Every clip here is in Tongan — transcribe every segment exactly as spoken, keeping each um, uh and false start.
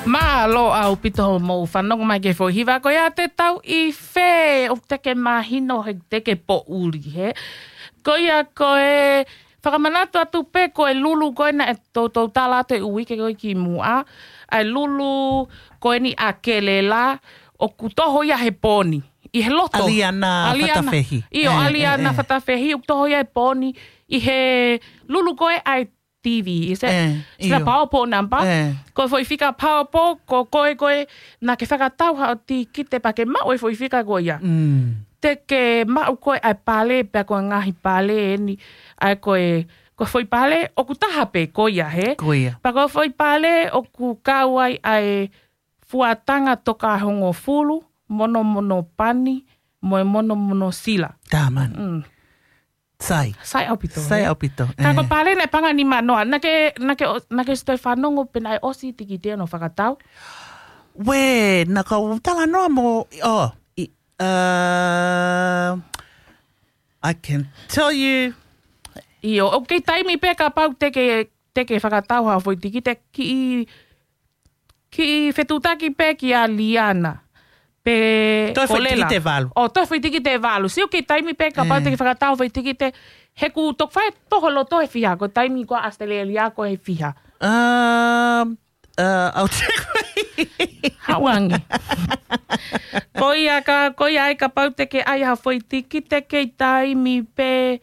Mālō ʻaupito hoʻomou fanongo mai ki he foʻi hiva ko ia, te tau ʻi fē, ʻoku teʻeki mahino he teʻeki poʻuli, hē. Ko ia ko e fakamanatu atu pē ko e lulu ko ē naʻe toutou tala atu he uike ko ē kimuʻa, ʻa e lulu ko eni ʻa Kelela, ʻoku toho ia he pō ni, ʻi he loto. ʻAliana Fatafehi. ʻIo, ʻAliana Fatafehi, ʻoku toho ia he pō ni, ʻi he lulu ko ē ʻa e T V, is it? Sila PowerPoint number. Ko e foʻi fika PowerPoint, ko koe ko ē naʻa ke fakatau haʻo tikite pea ke maʻu e foʻi fika ko ia. Te ke maʻu ko ē ʻa e pale, pea ko e ngaahi pale eni, ʻa e ko e, ko e foʻi pale, ʻoku taha pē ko ia, hē? Ko ia. Pea ko e foʻi pale, ʻoku kau ai ʻa e fuatanga toka hongofulu, monomono pani, mo e monomono sila. Taha mano. Sai. Sai ʻaupito, Sai ʻaupito. Ka ko e pale naʻe paʻanga nima noa. Naʻa ke, naʻa ke, naʻa ke ʻosi toe fanongo pe naʻe ʻosi tikite hono fakatau? Uē, naʻa ku talanoa mo, oh, I, uh, I can tell you. ʻIo, ʻoku kei taimi pē kapau te ke, te ke fakatau haʻo foʻi tikite, kiʻi kiʻi fetuʻutaki pē kia Liana. Pe Toe foʻi Kolela. Tikite valu. ʻO, toe foʻi tikite valu. Sio ki he taimi pē kapau te ke fakatau foʻi tikite. He ʻoku toki fai toho loto he fiha. Ko e taimi ko ē ʻAositelēlia ko e fiha. Um, uh, I'll check. Hauangi. Ko ia ka, ko ia ai kapau te ke ʻai haʻo foʻi tikite kei taimi pē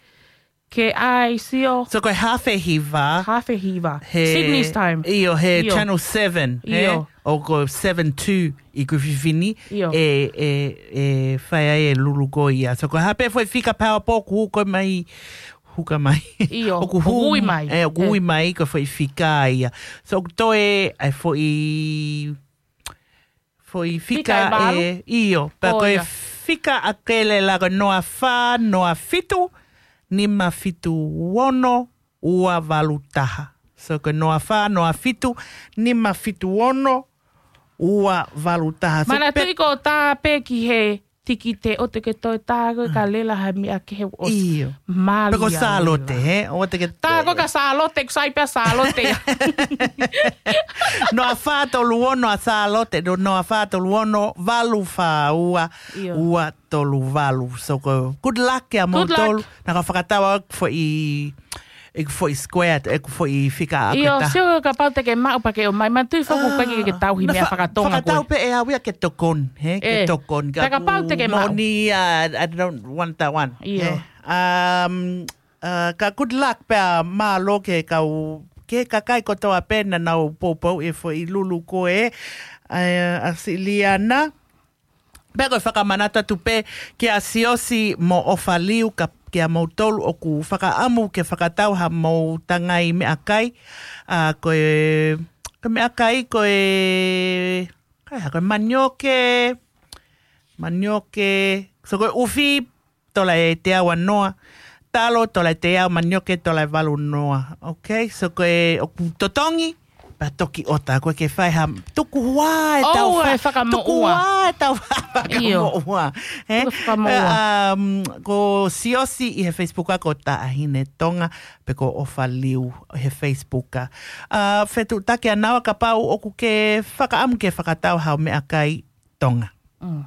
ke ʻai sio. So ko e hafe hiva. Hafe hiva. He, Sydney's time. ʻIo, he ʻIo. Channel seven, he? ʻIo. ʻO ko seven two ʻi Griffith ni. ʻIo. E, e, e fai ai e lulu ko ia. So ko e hape foʻi fika PowerPoint ʻoku hū ko ē mai, huka mai. ʻIo, ʻoku ʻoku hū, ui mai. E, ʻoku ui mai ko e foʻi fika ia. So ʻoku toe ʻa e foʻi foʻi fika Fika ʻe valu? ʻIo, pea Ko ko e ia. Fika ʻa Kelela ko e noa fā, noa fitu, nima fitu ono, ua valu taha. So ko e noa fā, noa fitu, nima fitu ono, ua valu taha. So Manatuʻi pe- ko tā pē ki he tikite ʻoua te ke toe tā ko ē ka Lela ha meʻa kehe ʻosi. ʻIo. Mālie Pe ko Sālote, Lela. He? ʻOua te ke Tā ko ē ka Sālote, ʻoku sai pē ʻa Sālote. Noa fā tolu ono ʻa Sālote, no, noa fā tolu ono, valu fā ua, ʻIo. ua tolu valu. So ko, good luck kia Good luck. moutolu. Naʻa ku fakatau ʻeku foʻi, ʻeku foʻi square, ʻeku foʻi fika ʻaku ʻIo, tā. Sio kapau te ke maʻu pea ke ʻomai, manatuʻi foki Ah, pē ke tauhi na meʻa fa-, fakatonga fakatau koe. Pē ʻe au ia ke tokoni, he, ke Eh, tokoni. Ka kapau te ke maʻu. Moni, uh, I don't want that one. ʻIo. He. Um, uh, ka good luck pea mālō ke kau, ke kakai kotoa pē naʻa nau poupou e foʻi lulu ko ē, uh, ʻa Siliana. Pea ko e fakamanatu atu pē kia Siosi mo ʻOfaliu ka, kia moutolu ʻoku fakaʻamu ke fakatau haʻamou tangai meʻakai. ʻA, ko e, ko e meʻakai, ko e, kai ha, ko e manioke, manioke, so ko e ʻufi, tola ʻe teau ʻa noa. Talo, tola ʻe teau, manioke, tola ʻe valu noa. Okay, so ko e ʻoku totongi, pea toki ʻota, ko e ke fai ha tuku hua e ʻOua tau fa-, e fakamoʻua. Tuku hua e tau fa-, ʻIo. Fakamoʻua. He? Tuku fakamoʻua. Um, ko Siosi ʻi he Facebook ʻa ko Taʻahine Tonga, pe ko ʻOfaliu he Facebook ʻa. Uh, fetuʻutaki ʻa naua kapau ʻoku ke fakaʻamu ke fakatau haʻo meʻakai Tonga. Mm.